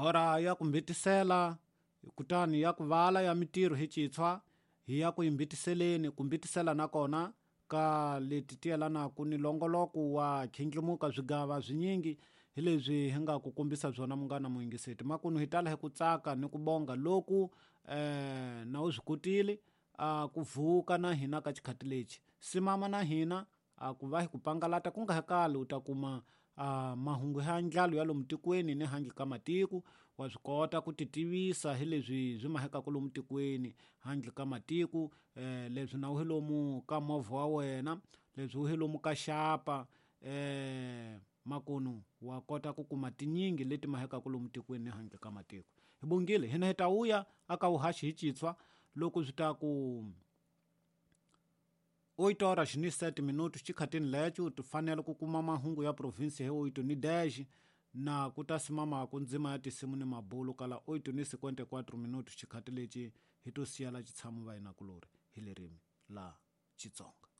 Hora ya ku mbitisela kutani ya ku vala ya mitirho hi citshwa hi ya ku yimbitiseleni ku mbitisela nakona ka leti ti yelanaka ni longoloko wa khindlimuka swigava swinyingi hi leswi hi nga ku kombisa byona munghana muyingiseti makunu hi tala hi ku tsaka ni ku bonga loku eh na u swi kotile a ku vuka na hina ka xikhati lexi simama na hina a ku va hi ku pangalata ku nga ha kali u ta kuma a mahungu ya ndlalo ya lomu tikweni ni handle ka matiko wa swi kota ku ti tivisa hi leswi swi mahekaka lomu tikweni handle ka matiko um leswi na u hi lomu ka movha wa wena leswi u hi lomu ka xapa um makunu wa kota ku kuma tinyingi leti mahekaka lomu tikweni ni handle ka matiko hi bongile hina hi ta vuya aka vuhaxi hi citshwa loko swi ta ku 8 horas ni 7 minutos xikhatini lexo ti fanele ku kuma mahungu ya provinsi hi 8 ni 10 na ku ta simamaku ndzima ya tinsimu ni mabulu kala 8 ni 54 minutos xikhati lexi hi to siyela xitshamo va hina kulori hi lerimi la Xitsonga.